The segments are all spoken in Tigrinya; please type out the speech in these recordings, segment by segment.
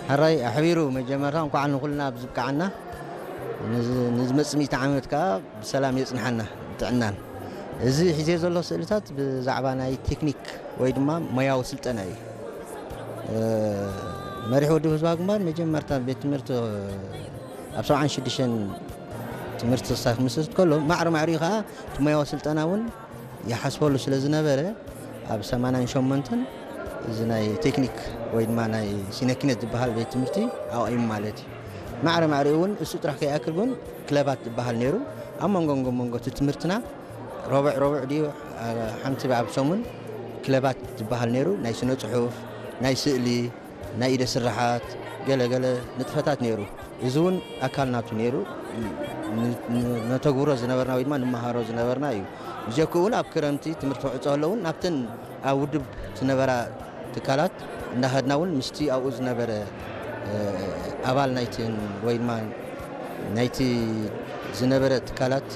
ሕራይ ኣሕቢሩ። መጀመርታ እንኳዕ ንኹልና ኣብ ዝብቃዓና፣ ንዝ- ንዝመጽእ ሚእቲ ዓመት ከዓ ብሰላም የጽንሓና ጥዕናን። እዚ ሒዜ ዘሎ ስእልታት ብዛዕባ ናይ ቴክኒክ ወይ ድማ ሞያዊ ስልጠና እዩ። መሪሕ ወዲ ህዝባ ግንባር መጀመርታ ቤት ትምህርቲ ኣብ ሰብዓን ሽዱሽተን ትምህርቲ ክሳይ ክምስርት ከሎ፣ ማዕረ ማዕሪኡ ከዓ እቲ ሞያዊ ስልጠና እውን ይሓስበሉ ስለ ዝነበረ፣ ኣብ ሰማንያን ሸሞንተን እዚ ናይ ቴክኒክ ወይ ድማ ናይ ሲነኪነት ዝበሃል ቤት ትምህርቲ ኣዋኢሙ ማለት እዩ። ማዕረ ማዕሪኡ እውን እሱ ጥራሕ ከይኣክል እውን ክለባት ዝበሃል ነይሩ። ኣብ መንጎ መንጎ መንጎ እቲ ትምህርትና ረቡዕ ረቡዕ ድዩ ሓንቲ ኣብ ሰሙን ክለባት ዝበሃል ነይሩ። ናይ ስነ ጽሑፍ፣ ናይ ስእሊ፣ ናይ ኢደ ስራሓት፣ ገለ ገለ ንጥፈታት ነይሩ። እዚ እውን ኣካል ናቱ ነይሩ። ነተግብሮ ዝነበርና ወይ ድማ ንመሃሮ ዝነበርና እዩ። ብጀክኡ እውን ኣብ ክረምቲ ትምህርቲ ክዕጾ ከሎ እውን ናብተን ኣብ ውድብ ዝነበራ ትካላት እንዳኸድና እውን ምስቲ ኣብኡ ዝነበረ ኣባል ናይትን ወይ ድማ ናይቲ ዝነበረ ትካላት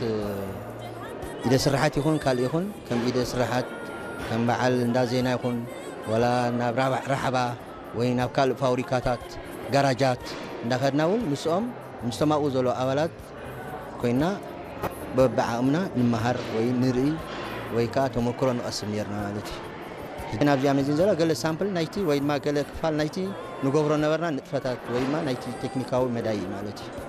ኢደ ስራሓት ይኹን ካልእ ይኹን ከም ኢደ ስራሓት ከም በዓል እንዳ ዜና ይኹን ወላ ናብ ራሕባ ወይ ናብ ካልእ ፋብሪካታት ጋራጃት እንዳኸድና እውን ምስኦም ምስቶም ኣብኡ ዘሎ ኣባላት ኮይና በብዓቕምና ንመሃር ወይ ንርኢ ወይ ከዓ ተመክሮ ንቐስም ነርና ማለት እዩ። ናብዚኣ መዚን ዘሎ ገለ ሳምፕል ናይቲ ወይ ድማ ገለ ክፋል ናይቲ ንገብሮ ነበርና ንጥፈታት ወይ ድማ ናይቲ ቴክኒካዊ መዳይ ማለት እዩ።